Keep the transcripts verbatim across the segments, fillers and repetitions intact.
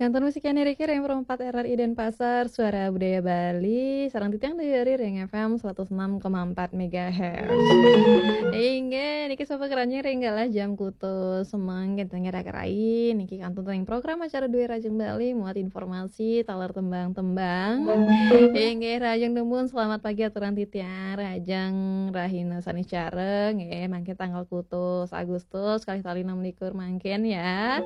Kantor musik yang Riki Reng Perempat R R I Denpasar, Suara Budaya Bali, sarang titiang dari Reng F M seratus enam koma empat megahertz. Inggih, niki sapa keranjing ring galah jam kutus semeng kenten ngerak rai, niki kantun ring program acara Dua Rajeng Bali, muat informasi, taler tembang-tembang. Inggih, Rajeng Dumun, selamat pagi aturan titiang, Rajeng Rahina Saniscara, nggih, mangke tanggal kutus Agustus, kali tali enam likur mangkin ya.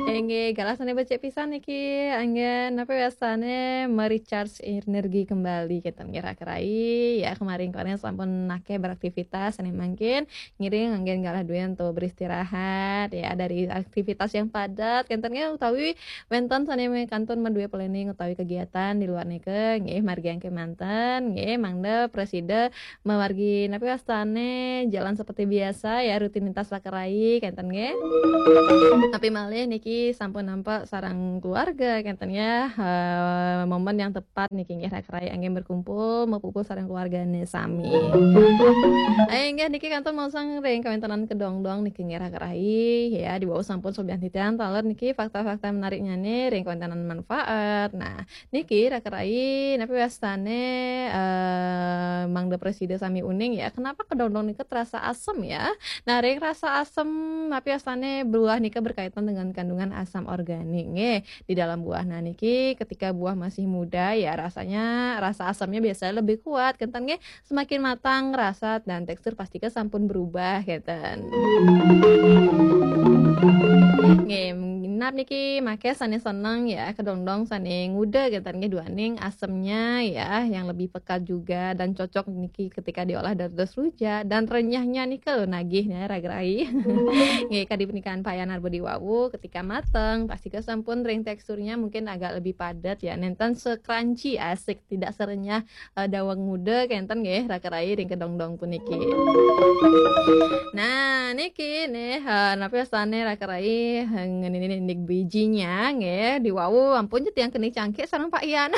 Inggih, galah sane becik pisan niki, anggen apa biasane merecharge energi kembali kita ngira kerai ya, kemarin-kemarin sampun nake beraktivitas sane mangkin ngiring anggen galah duwe untuk beristirahat ya dari aktivitas yang padat kenten nggih utawi wenten sane kantun meduwe planning utawi kegiatan di luar nike nggih margi angke manten nggih mangda preside memargi napi wastane jalan seperti biasa ya rutinitas lakerai kenten nggih. Tapi malih niki sampun nampak sarang keluarga kenten ya eh, momen yang tepat niki nggih lakerai angge berkumpul mepupul sarang keluargane sami. Ayo nggih niki kantun mosang ring kawentenan kedongdong niki nggih lakerai ya dibawa sampun sobian titian taler niki fakta-fakta menariknya nih ring kawentenan manfaat. Nah, niki raka rai napi wastane eh, mangda presida sami uning ya. Kenapa kedondong nika terasa asam ya? Nah, ring rasa asam napi wastane buah nika berkaitan dengan kandungan asam organik nggih. Di dalam buah nah niki ketika buah masih muda ya rasanya rasa asamnya biasanya lebih kuat kenten nggih. Semakin matang rasa dan tekstur pasti sampun berubah kenten. Nggih, minab niki make sane seneng ya kedondong sane nguda kenten nggih duaning asemnya ya yang lebih pekat juga dan cocok niki ketika diolah dados rujak dan renyahnya nika lho nagih ya ragerai. Nggih kadi pernikahan Pak Yanar Budi Wawu ketika mateng pasti sampun ring teksturnya mungkin agak lebih padat ya nenten sekranci asik tidak serenyah eh, daweg muda kenten nggih raka rai ring kedongdong puniki. Nah, niki nih eh, napi wastane raka rai eh, ngenini nih bijinya nggih diwawu ampun je tiang keni cangkik sareng Pak Ian.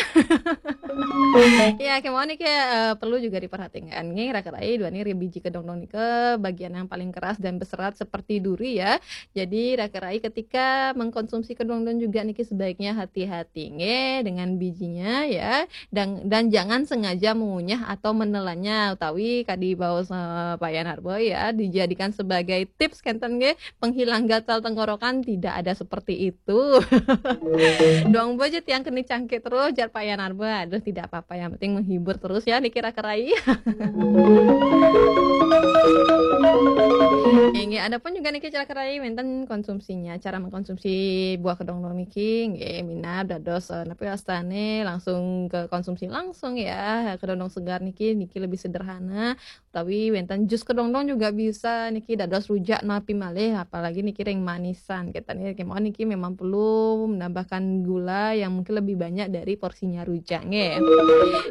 Ya, kemauan niki eh, perlu juga diperhatikan nggih raka rai duani ring biji kedongdong nika bagian yang paling keras dan berserat seperti duri ya. Jadi raka rai ketika mengkonsumsi kedongdong juga niki sebaiknya hati-hati nggih dengan bijinya ya. Dan dan jangan sengaja mengunyah atau menelannya utawi kadi baos eh, Pak Yan Harbo ya dijadikan sebagai tips kenten nggih penghilang gatal tenggorokan tidak ada seperti itu. Dong bojo tiang keni cangkik terus jar Pak Yan Harbo. Aduh tidak apa-apa yang penting menghibur terus ya niki raka rai. Inggih, adapun juga niki raka rai wenten konsumsinya, cara mengkonsumsi buah kedongdong niki nggih minab dados eh, napi wastane langsung ke konsumsi langsung ya. Kedondong segar niki niki lebih sederhana. Tapi wenten jus kedongdong juga bisa niki dados rujak napi malih apalagi niki ring manisan. Kita nih kemauan niki memang perlu menambahkan gula yang mungkin lebih banyak dari porsinya rujak nggih.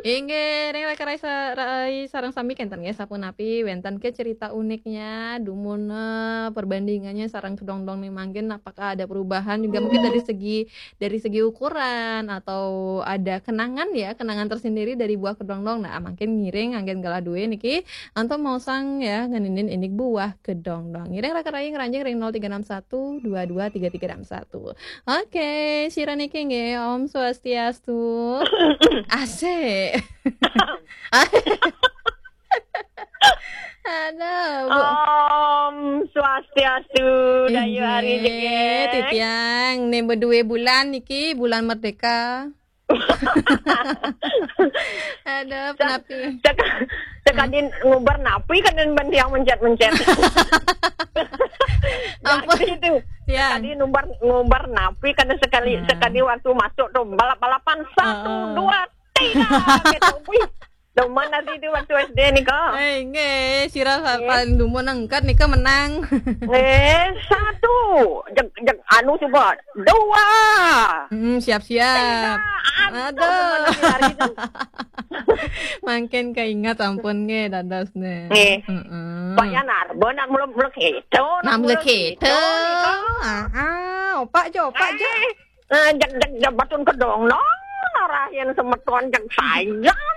Inggih, ring raka rai sa- rai sareng sami kenten nggih sapunapi wenten ke cerita uniknya, dumun eh, perbandingannya sareng kedongdong nih mangkin apakah ada perubahan juga mungkin dari segi dari segi ukuran atau ada kenangan ya, kenangan tersendiri dari buah kedongdong. Nah, mangkin ngiring anggen galah duwe niki antum mau sang ya ngeninin inik buah kedongdong. Ngiring raka rai ngranjing ring nol tiga enam satu dua dua tiga tiga enam satu. Oke, sira niki nggih Om Swastiastu. Asik. Aduh, Bu. Om Swastiastu, Dayu Ari Inggih, Jegeng. Titiang nih berdua bulan niki bulan merdeka. Aduh, penapi. Cek, cek adin nguber napi kan dan bandiang mencet-mencet. Ampun. Jadi itu. Ya. Tadi nguber nguber napi kan sekali Nah. sekali waktu masuk tuh balap-balapan satu Ah. dua tiga gitu. Wih, demen nanti itu waktu S D nih kok. Eh, nggih, sira pa- Nggih. paling dumun angkat nika menang. Eh, satu. Jeg, jeg, anu coba. Dua. Hmm, siap-siap. Tiga. Aduh. Demen nanti hari itu. Mangkin keingat ampun nggih dados nih. Nggih. Heeh. Pak Yanar, benar muluk-muluk itu. Nah, muluk itu. Ah, ah, opak jo, opak jo. Eh, eh, jeg, jeg, jeg, batun kedong, no. Rahin semeton jeg sayang.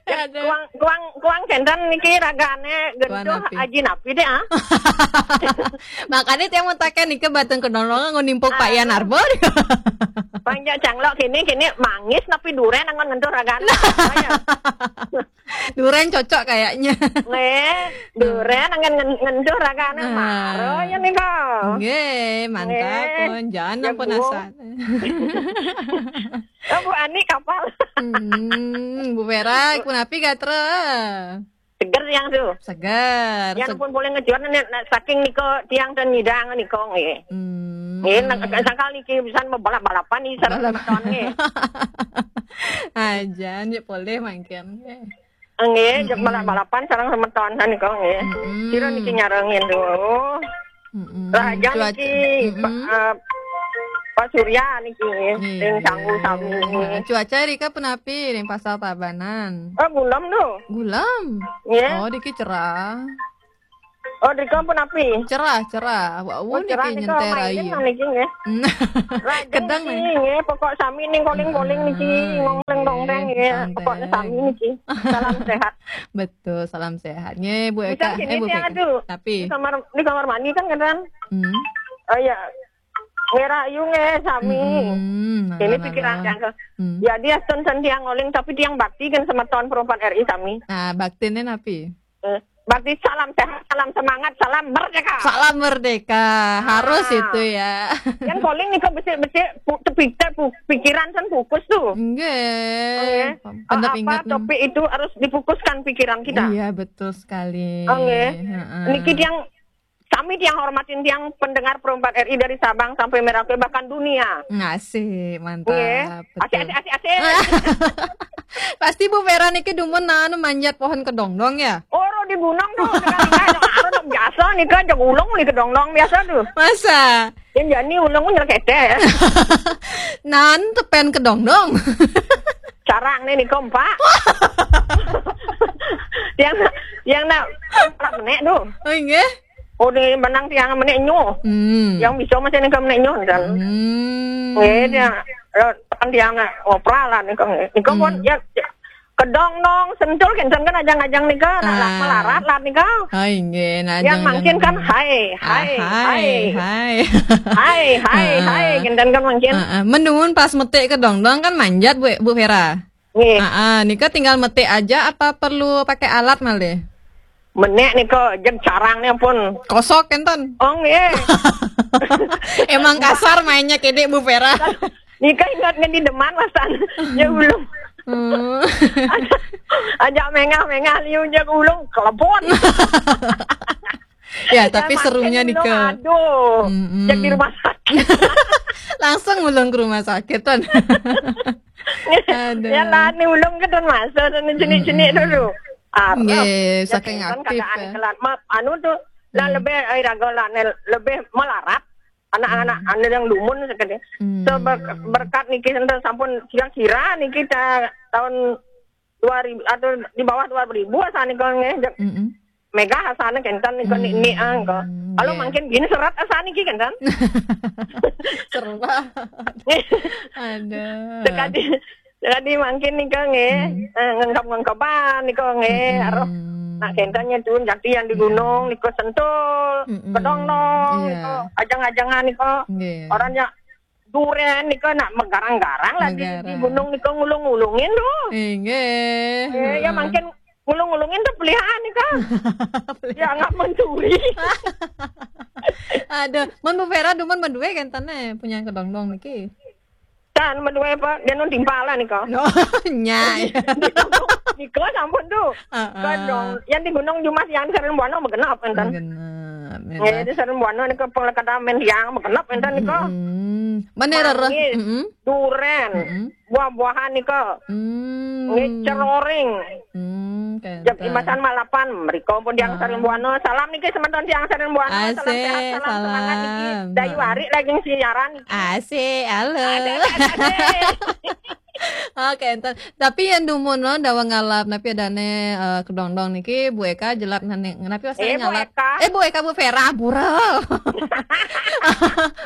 Aduh. Kuang, kuang, kuang kenten niki ragane gentuh aji napi deh, ah. Makanya tiang mau taken niki batang kedondong nggo nimpuk Pak Yan Arbor. Panjak canglok kini, kini manggis napi duren anggon ngentuh ragane. Apa ya? Duren cocok kayaknya. Nggih, duren anggon ngen-, ngentuh ragane. Ah. Maro ya nika. Nggih, mantap pun. Jangan ya, ampun Bu. Asal. Oh, Bu Ani kapal. Hmm, Bu Vera, punapi gatra? Seger yang tu. Seger. Yang pun boleh ngejual ni, nak saking niko tiang dan nyidang niko nggih. Hmm. Nggih, nak sangkal niki pisan mau balap-balapan ni sareng semeton nggih. Aja, nggih boleh mangkin. Nggih, mm-mm, balap-balapan sareng semeton niko nggih. Mm-mm. Sira niki nyarengin tu. Mm-mm. Lah, aja cuaca niki, mm-mm, Pak, eh, Pak Surya niki, nggih, ring Sanggu sami. Nah, cuaca rika punapi ring Pasar Tabanan? Oh, gulem tu. Gulem? Nggih. Oh, diki cerah. Oh, rika punapi? Cerah, cerah. Wah, oh, cerah niki nyentai rayu. Niki nggih. Lajeng kedang niki nggih, pokok sami ning koling-koling niki, ah, ngongling dongdeng nggih, santai. Pokoknya sami niki. Salam sehat. Betul, salam sehat. Nggih, Bu Eka. Bisa gini, eh, Bu Eka. Aduh. Tapi di kamar, di kamar mandi kan, kan? Hmm. Oh iya. Ngerayu nggih sami. Hmm, ini pikiran yang ke. Hmm. Ya, dia sen-sen tiang oling, tapi tiang bakti kan semeton perempuan R I sami. Nah, baktine napi? Eh, bakti salam sehat, salam semangat, salam merdeka. Salam merdeka. Harus itu ya. Yang koling nika becik-becik pu-, tepik-, pu-, pikiran kan fokus tu. Nggih. Nggih. Pendep apa ingat topik itu harus difokuskan pikiran kita. Iya, betul sekali. Nggih. Heeh. Niki tiang, kami tiang hormatin tiang pendengar perempat R I dari Sabang sampai Merauke bahkan dunia. Asik, mantap. Nggih. Betul. Asik, asik, asik, asik. Pasti Bu Vera niki dumun anu manjat pohon kedondong ya? Ora di gunung tu, sekali-kali anu biasa nika aja ulung ni kedondong biasa tu. Masa? Yang jani ulung nyelekete. Nan tepen kedondong. Carang ni nika empak. Yang, yang nak, nak menek tu. Oh, nggih. Oh, ni menang tiang menek nyoh. Hmm. Yang bisa macam ni ke menek nyoh, misal. Hmm. Eh, dia, eh, tekan tiang nak opera lah ni ke. Ni ke pun, hmm, ya, ya, kedondong, sentul, kenten kan ajang-ajang ni ke, nak, ah, melarat lah ni ke. Hai, nggih, nah, yang ajang-ajang mangkin kan, ni. Hai, ah, hai, hai, hai. Hai, hai, ah, hai, kenten kan mangkin. Ah, ah. Menun pas metik kedondong kan manjat, Bu, Bu Vera. Nggih. Ah, ah, nika tinggal metik aja apa perlu pakai alat malih? Menek nika jeg carang ni pun. Kosok kenten? Oh, nggih. Emang kasar mainnya kene, Bu Vera. Nika ingat ngendi deman masan. Ya ulung. Hmm. Ajak, ajak mengah-mengah liu jeg ulung kelebon. Ya, tapi serunya ulung, nika. Aduh. Mm-mm. Jeg di rumah sakit. Langsung ulung ke rumah sakit, kan? Aduh. Ya lah, ni ulung ke dan masa dan jenik-jenik dulu. Ah, nggih, ya, saking kan aktif, keadaan ya. Kelan. Ma-, anu tu, lah, hmm, lebih, eh, raga lah, ne, lebih melarat. Anak-anak, hmm, anu yang lumun sekali. Hmm. So, ber-, berkat niki enten sampun kira-kira niki ta-, tahun dua ribu atau di bawah dua ribu asal nika nggih. Mm-mm. Megah asane kenten nika ni, ni, ah, nika. Kalau nggih. Mangkin gini serat asane iki kenten. Serba. Aduh. Sekali, sekali mangkin nika nggih. Hmm. Eh, ngengkep-ngengkepan nika nggih. Hmm. Aroh, nak kenten nyedun jati yang di gunung nika sentul, hmm, kedondong, iya, nika ajang-ajangan nika. Nggih. Orang yang duren nika nak menggarang-garang lah di, di gunung nika ngulung-ngulungin tu. Inggih. Eh, ya mangkin ngulung-ngulungin tu peliharaan nika. Ya, nggak mencuri. Aduh, mun Bu Vera dumun madue kenten eh, punya kedondong niki. Tan madue apa? Dia nun timpal lah nika. No, nyai. Nika sampun tu. Heeh. Kedong, yang di gunung Jumas yang sering buana begenap enten. Begenap. Ya, itu sering buana nika penglekatan men yang begenap enten nika. Hmm. Mana rereh? Manggis, mm-mm, duren, mm-mm, buah-buahan nika. Hmm. Nggih, ceroring. Hmm, kenten. Jam imasan malapan, mriko pun tiang sering buana. Salam niki semeton tiang sering buana. Salam sehat, salam semangat niki. Asik, salam. Dayu Ari lagi siaran. Asik, halo. Asik, asik, asik. Oke, enten. Tapi yang dumun no, dawa ngalap, napi adané, eh, kedondong niki, Bu Eka jelap nane, napi wastané eh, ngalap? Bu Eka. Eh, Bu Eka, Bu Vera, ampura.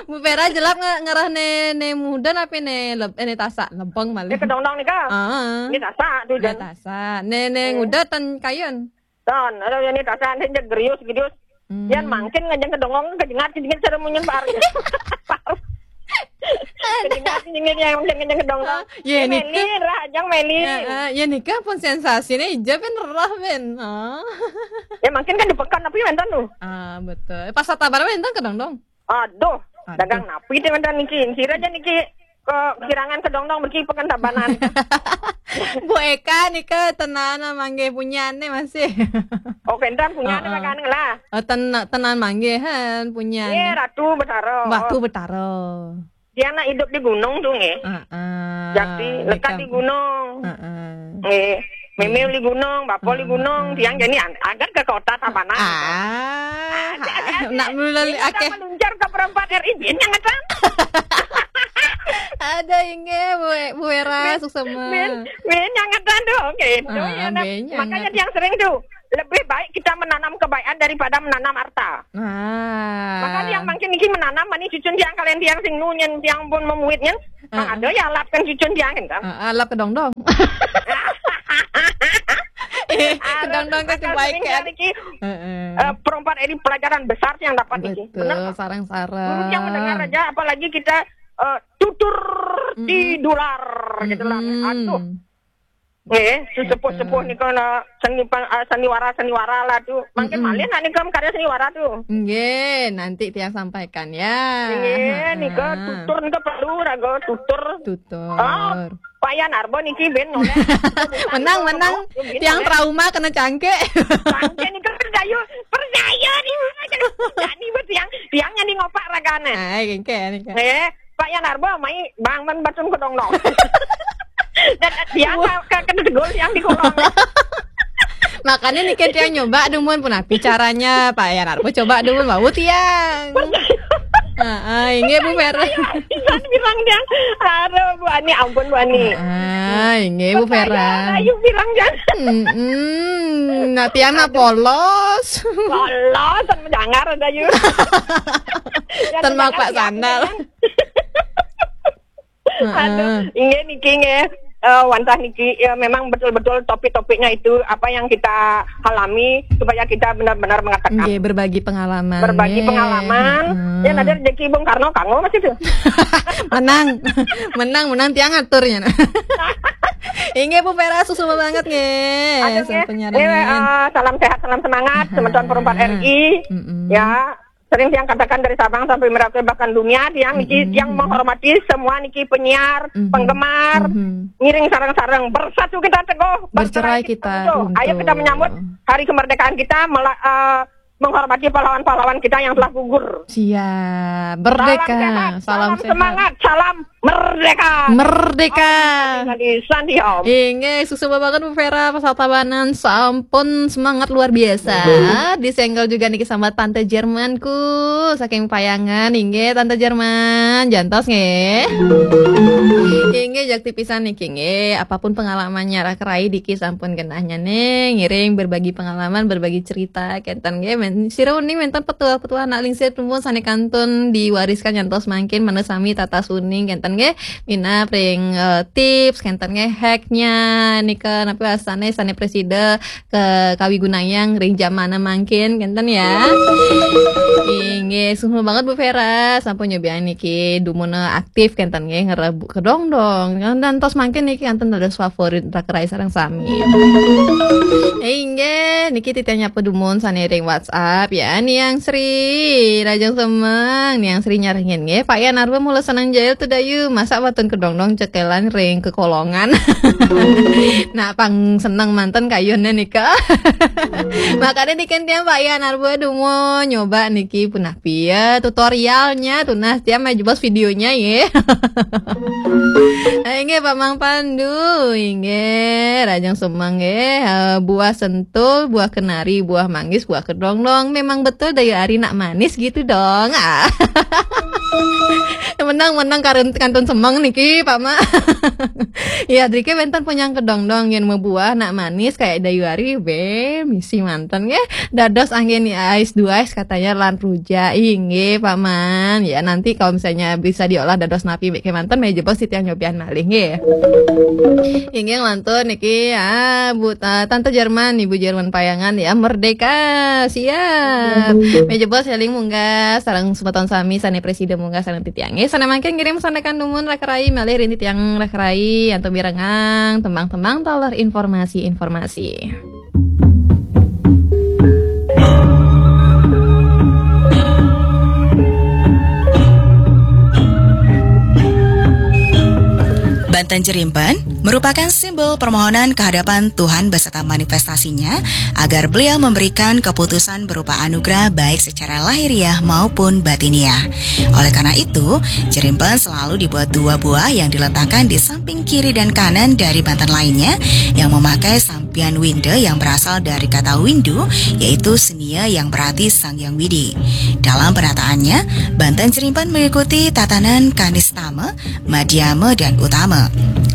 Bu Vera jelap nge-, ngarah né, né muda napi né leb-, eh, né tasak, lebeng malih. Eh, kedondong nika. Ah. Né tasak tuh, né tasak. Né, né eh. Nguda ten kayun. Don, ada yang ini tasan dia gerius gerius. Hmm. Yang mangkin ngajeng kedondong, kejengat kejengat cara munyin par. Kejengat kejengat yang ngajeng ngajeng kedondong. Ya, ini meli, rah, ajang meli. Ya, ah, ya, nika pun sensasinya ija pin rah pin. Ah. Ya, mangkin kan di pekan tapi wénten tuh. Ah, betul. Pas sabar wénten kedondong. Aduh, aduh. Dagang napi téh mantan niki. Sira aja niki kekirangan kedondong mriki Pekan Tabanan. Bu Eka nika tenan manggih punyané masih. Oh, kénten punyané. Heeh. Makan lah. Oh, ten-, tenan manggih han punyané. Iya, Ratu Betara. Ratu Betara. Dia anak hidup di gunung tuh nggih. Heeh. Jakti lekat di gunung. Heeh. Nggih. Mémé di gunung, bapa di gunung, tiang jadi an-, angkat ke kota Tabanan. Ah, nak mulai akeh. Meluncur ke Perempat R I, bin nyangetan. Ada inggih, Bu, Bu Era, suksema. Bin, bin nyangetan tuh, gitu. Ah, ya, nah, bin nyanget. Makanya tiang sering tuh, lebih baik kita menanam kebaikan daripada menanam harta. Ah. Makanya yang mangkin niki menanam, mani cucun tiang kalian tiang sing nunyen, tiang pun memuitnya. Ah. Ada ya lapkan cucun tiang kan. Ah, ah, lap kedondong. Eh, kedondong kan kebaikan. Heeh. Eh, Perempat ini pelajaran besar yang dapat niki. Betul, sareng-sareng. Guru yang mendengar aja, apalagi kita, eh, tutur di dular gitu lah. Mm-mm. Aduh. Nggih, sesepuh-sepuh nika na seni pan-, ah, sandiwara-sandiwara lah tuh. Mangkin malih nak nika karya sandiwara tuh. Nggih, nanti tiang sampaikan ya. Nggih, nika tutur nika perlu raga tutur. Tutur. Oh, Pak Yan Arbo niki bin noleh. Menang, menang. Tiang trauma kena cangkik. Cangkik nika percaya, percaya nih. Jadi buat tiang, tiang nyanyi ngopak ragane. Ai, kengke nika. Nggih. Pak Yan Arbo, mai bang men batun kedondong. Dan dia ke, ke, kena tegul yang di kolong. Makanya nih kan tiang nyoba dumun pun api caranya Pak Yan Arbo coba dumun mau tiang. Heeh, inggih Bu Vera. Ayo, pisan bilang tiang. Aduh, Bu Ani, ampun Bu Ani. Ah, inggih Bu Vera. Ayo bilang jangan. Mm-mm. Nah, tiang na polos. Polos, tan menjangar ada yuk. Tan mapak sandal. Aduh, inggih niki nggih. Eh, wantah niki, ya, memang betul-betul topik-topiknya itu apa yang kita alami supaya kita benar-benar mengatakan. Nggih, berbagi pengalaman. Berbagi pengalaman. Ya, nanti rezeki Bung Karno kanggo masih tuh. Menang. Menang, menang tiang aturnya. Inggih Bu Vera, suksema banget nggih. Aduh, nggih. Sampun nyarengan. Nggih, eh, salam sehat, salam semangat, semeton Perempat R I. Ya, sering tiang katakan dari Sabang sampai Merauke bahkan dunia, tiang niki, tiang menghormati semua niki penyiar, penggemar, ngiring sareng-sareng, bersatu kita teguh, bercerai kita runtuh. Ayo kita menyambut hari kemerdekaan kita, mela-, eh, menghormati pahlawan-pahlawan kita yang telah gugur. Siap. Merdeka. Salam sehat, salam semangat, salam merdeka. Merdeka. Om Sandi Sandi Om. Inggih, suksema banget Bu Vera, Pasar Tabanan, sampun semangat luar biasa. Disenggol juga niki sama Tante Jermanku, saking Payangan, inggih Tante Jerman, jantos nggih. Inggih, jakti pisan niki nggih, apapun pengalamannya raka rai niki sampun genahnya nih, ngiring berbagi pengalaman, berbagi cerita, kenten nggih, men-, sira uning wénten petuah-petuah anak lingsir dumun sané kantun diwariskan nyantos mangkin manut sami tatas uning, kenten nggih. Minab ring, eh, tips, kenten nggih, hacknya, nika napi wastané sané presida ke kawigunayang ring jamané mangkin, kenten ya. Inggih, suksma banget Bu Vera, sampun nyobian niki dumun aktif, kenten nggih, ngerebu kedondong. Ngantos mangkin niki kenten dados favorit raka rai sareng sami. Inggih, niki titiang nyapa dumun sané ring WhatsApp ya, Niang Sri, Rajang Semeng, Niang Sri nyarengin nggih, Pak Yan Arba mula seneng jail tuh dayu, masa waton kedondong cekelan ring kekolongan. Nah, pang seneng manten kayuné nika. Makanya niki tiang Pak Yan Arba dumun nyoba niki punah piye tutorialnya, tunah tiang mah jebos videonya ya. Inggih Pak Mang Pandu, inggih Rajang Semeng nggih, eh, buah sentul, buah kenari, buah manggis, buah kedondong. Memang betul dayu ari nak manis gitu dong. Ah. Yang Yang menang kantun semeng niki, Pak Ma. Ya, drike wenten punyang kedong-dong yen mebuah nak manis kayak dayu ari, be, misi manten nggih. Dados anggen ais duais katanya lan rujak. Inggih, Pak Man. Ya, nanti kalau misalnya bisa diolah dados napi mbek kemanten, meja bos titiang nyobian malih nggih. Inggih lantur niki, ah, Bu, ah, Tante Jerman, Ibu Jerman Payangan ya, Merdeka. Siap. Meja bos eling munggah sareng semeton sami sane preside munggah sareng titiang. Nggih, sane mangkin ngirim sandekan numun Raka Rai malih ring titiang Raka Rai antuk mirengang tembang-tembang taler informasi-informasi. Banten Jerimpen merupakan simbol permohonan kehadapan Tuhan beserta manifestasinya agar beliau memberikan keputusan berupa anugerah baik secara lahiriah maupun batiniah. Oleh karena itu, jerimpen selalu dibuat dua buah yang diletakkan di samping kiri dan kanan dari banten lainnya yang memakai sampian winde yang berasal dari kata windu, yaitu senia yang berarti Sang Yang Widi. Dalam penataannya, banten jerimpen mengikuti tatanan kanistama, madhyama, dan utama.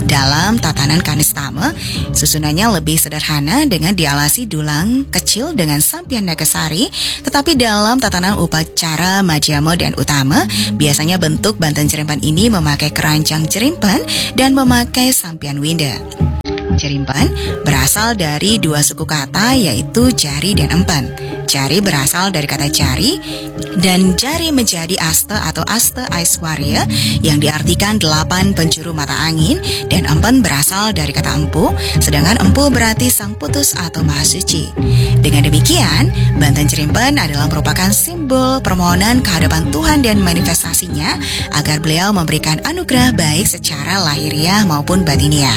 Dalam tatanan kanistama, susunannya lebih sederhana dengan dialasi dulang kecil dengan sampian nagasari, tetapi dalam tatanan upacara madhyama dan utama, biasanya bentuk banten jerimpen ini memakai keranjang jerimpen dan memakai sampian winda. Jerimpen berasal dari dua suku kata, yaitu jari dan empen. Jari berasal dari kata jari, dan jari menjadi asta atau asta Aiswarya yang diartikan delapan penjuru mata angin, dan empen berasal dari kata empu, sedangkan empu berarti sang putus atau maha suci. Dengan demikian, banten jerimpen adalah merupakan simbol permohonan kehadapan Tuhan dan manifestasinya agar beliau memberikan anugerah baik secara lahiriah maupun batiniah.